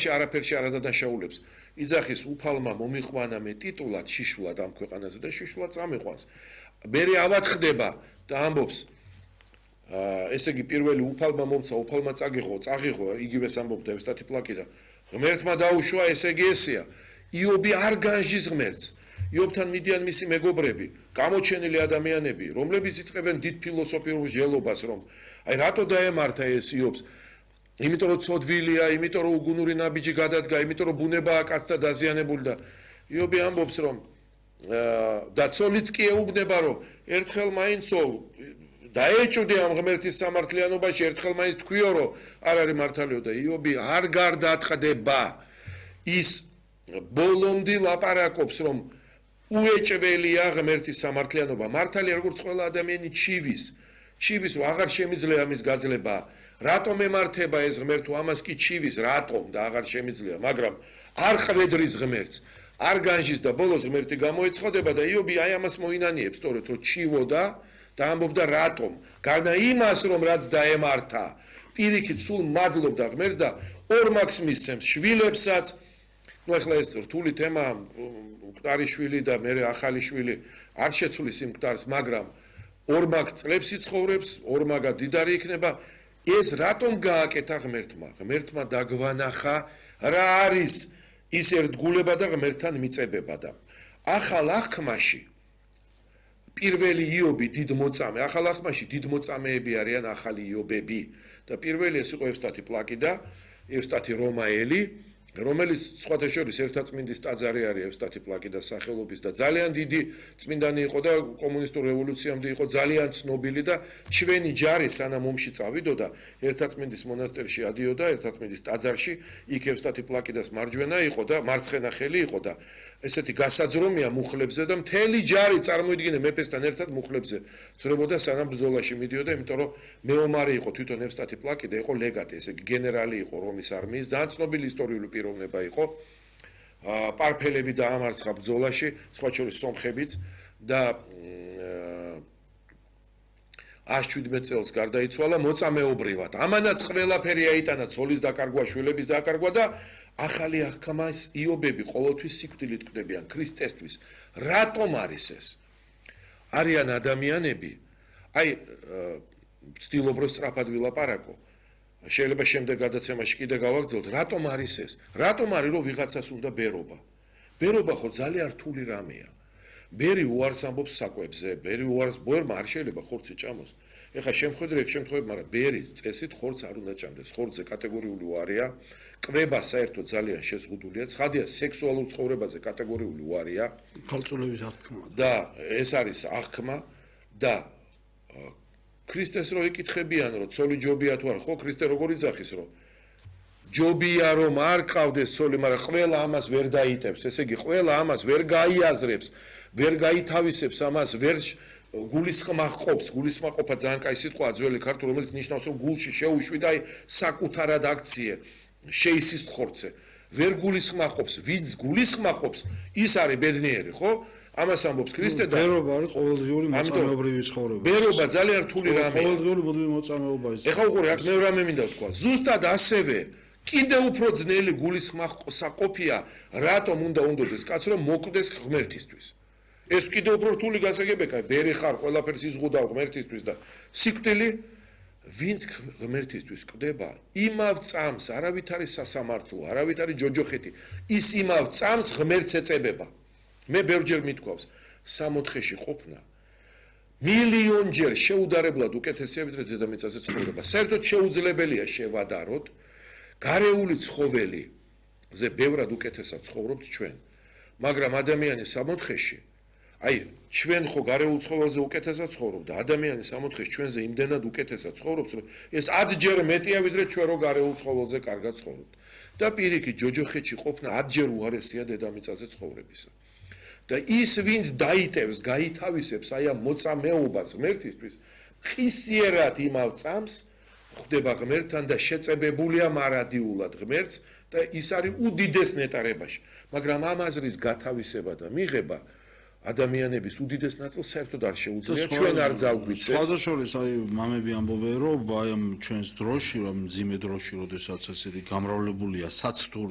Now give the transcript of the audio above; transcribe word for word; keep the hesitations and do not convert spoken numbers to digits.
ცხოვრებაში არაფერში არ ადაშაულებს. იძახის უფალმა მომიყვანა მე ტიტულად შიშულად ამ ქვეყანაზე და შიშულად წამიყვანს. მერე ავად ხდება და ამბობს ესე იგი პირველი უფალმა მომცა, უფალმა წაგიღო, წაღიღო, იგივეს ამბობდა ევსტათი პლაკი და ღმერთმა დაუშვა, ესე იგი ესეა. იობი არ განჟის ღმერთს. იობთან მიდიან მისი მეგობრები, გამოჩენილი ადამიანები, რომლებიც იწყებენ დიდ ფილოსოფიურ მსჯელობას, რომ აი რატო დაემართა ეს იობს? იმიტომ რომ ცოდვილია, იმიტომ რომ უგუნური ნაბიჯი გადადგა, იმიტომ რომ ბუნებაა კაცთა დაზიანებული და იობი ამბობს, რომ და ცოლიც კი ეუბნება, რომ ერთხელ მაინცო დაეჭვდე ამ ღმერთის სამართლიანობაში, ერთხელ მაინც თქვიო, რომ არ არის მართალიო და იობი არ გარდაატყდება ის ბოლომდე ლაპარაკობს, რომ უეჭველია ღმერთის სამართლიანობა. მართალია როგორც ყველა ადამიანი ჩივის, ჩივის რომ აღარ შემიძლია ამის გაძლება. რატომ ემართება ეს ღმერთო ამას კი ჩივის, რატომ და აღარ შემიძლია, მაგრამ არ ხვედრის ღმერთს, არ განჟის და ბოლოს ღმერთი გამოეცხადება და იობი აი ამას მოინანიებს, სწორედ რომ ჩივოდა და ამბობდა რატომ? გარდა იმას, რომ რაც დაემართა, პირიქით სულ მადლობდა ღმერთს და ორმაგს მისცემს შვილებსაც. ნუ ახლა ეს რთული თემა, მკვდარი შვილი და მე ახალი შვილი არ შეცვლის იმ მკვდარს, მაგრამ ორმაგ წლებს იცხოვრებს, ორმაგა დიდარი იქნება. ეს რატომ გააკეთა ღმერთმა? ღმერთმა დაგვანახა რა არის ის ერთგულება და ღმერთთან მიწებება და ახალ აღქმაში პირველი იობი დიდ მოწამე, ახალ აღქმაში დიდ მოწამეები არიან ახალი იობები და პირველი ეს იყო ევსტათი პლაკი და ევსტათი რომაელი, რომელიც სხვათა შორის ერთაწმინდის ტაძარი არის ევსტათი პლაკი და სახელობის და ძალიან დიდი წმინდანი იყო და კომუნისტურ რევოლუციამდე იყო ძალიან ცნობილი და ჩვენი ჯარი სანამ ომში წავიდოდა ერთაწმინდის მონასტერში ადიოდა ერთაწმინდის ტაძარში იქ ევსტათი პლაკიდას მარჯვენა იყო და მარცხენა ხელი იყო და ესეთი გასაძრომია მუხლებზე და მთელი ჯარი წარმოიდგინე მეფესთან ერთად მუხლებზე ძრებოდა სანამ ბრძოლაში მიდიოდა, იმიტომ რომ მეომარი იყო თვითონ ევსტათი პლაკი და იყო ლეგატი, ესე იგი გენერალი იყო რომის არმიის, ძალიან ცნობილი ისტორიული პიროვნება იყო. პარფელები დაამარცხა ბრძოლაში, სხვა შორის სომხებიც და ათს შვიდმეტ წელს გარდაიცვალა მოწამეობრივად. ამანაც ყველაფერი აიტანა ცოლის დაკარგვა, შვილების დაკარგვა და ახალი აღქმას იობები ყოველთვის სიკვდილით კვდებიან ქრისტესთვის. რატომ არის ეს? არიან ადამიანები, აი ვცდილობ რომ სწრაფად ვილაპარაკო. შეიძლება შემდეგ გადაცემაში კიდე გავაგრძელოთ, რატომ არის ეს? რატომ არის რომ ვიღაცას უნდა ბერობა? ბერობა ხო ძალიან რთული რამეა. ბერი უარს ამბობს საკვებზე, ბერი უარს ბერმა არ შეიძლება ხორცი ჭამოს. ეხლა შემხედრე ეგ შემთხვევები, მაგრამ ბერი წესით ხორცს არ უნდა ჭამდეს. ხორცზე კატეგორიული უარია, კვება საერთოდ ძალიან შეზღუდულია, ცხადია სექსუალურ ცხოვრებაზე კატეგორიული უარია, ქალწულების აღქმა და ეს არის აღქმა და ქრისტეს რო ეკითხებიან, რომ ცოლი ჯობია თუ არა, ხო ქრისტე როგორ იძახის, რომ ჯობია რომ არ ყავდეს ცოლი, მაგრამ ყველა ამას ვერ დაიტევს, ესე იგი ყველა ამას ვერ გაიაზრებს, ვერ გაითავისებს ამას, ვერ გულისხმაყოფს, გულისხმაყოფა ძალიან კაი სიტყვაა ძველი ქართული, რომელიც ნიშნავს, რომ გულში შეუშვი და საკუთარად აქციე, შეისის ხორცე, ვერ გულისხმაყოფს, ვინც გულისხმაყოფს, ის არის ბედნიერი, ხო? ამას ამბობს ქრისტე და ბერობა არის ყოველდღიური მოწამეობრივი ცხოვრება. ბერობა ძალიან რთული რამეა. ყოველდღიური ბოდური მოწამეობა ის. ეხლა უყურე, აქ მე რამე მინდა ვთქვა. ზუსტად ასევე კიდევ უფრო ძნელი გულისხმაყოფია, რატომ უნდა უნდოდეს კაცს რომ მოკვდეს ღმერთისთვის. ეს კიდევ უფრო რთული გასაგებია, ბერი ხარ, ყველაფერს იზღუდავ ღმერთისთვის და სიკვდილი ვინც ღმერთისთვის კვდება, იმავ წამს არავით არის სასამართლო, არავით არის ჯოჯოხეთი, ის იმავ წამს ღმერთს ეწებება. მე ბევრჯერ მithქვავს, სამოთხეში ყოფნა მილიონჯერ შეუდარებლად უკეთესია ვიდრე დედამიწაზე ცხოვრება. საერთოდ შეუძლებელია შევადაროთ, გარეული ცხოველიზე ბევრად უკეთესად ცხოვრობთ ჩვენ, მაგრამ ადამიანი სამოთხეში, აი ჩვენ ხო გარეულ ცხოველზე უკეთესად ცხოვრობ და ადამიანი სამოთხეში ჩვენზე იმდენად უკეთესად ცხოვრობს, რომ ეს ათჯერ მეტია ვიდრე ჩვენ რო გარეულ ცხოველზე კარგად ცხოვრობთ. და პირიქით ჯოჯოხეთში ყოფნა ათჯერ უარესია დედამიწაზე ცხოვრებისა. და ის ვინც დაიტევს, გაითავისებს აი ამ მოწამეობას ღმერთისთვის, ხისიერად იმავ წამს ხდება ღმერთთან და შეწებებულია მარადიულად ღმერთს და ის არის უდიდეს ნეტარებაში. მაგრამ ამ აზრის გათავისება და მიღება ადამიანების უდიდეს ნაწილს საერთოდ არ შეუძლია, ჩვენ არ ძალგვიცეს. სხვათა შორის აი მამები ამბობენ, რომ აი ამ ჩვენს დროში, რომ მძიმე დროში, როდესაც ესეთი გამრავლებულია საცდური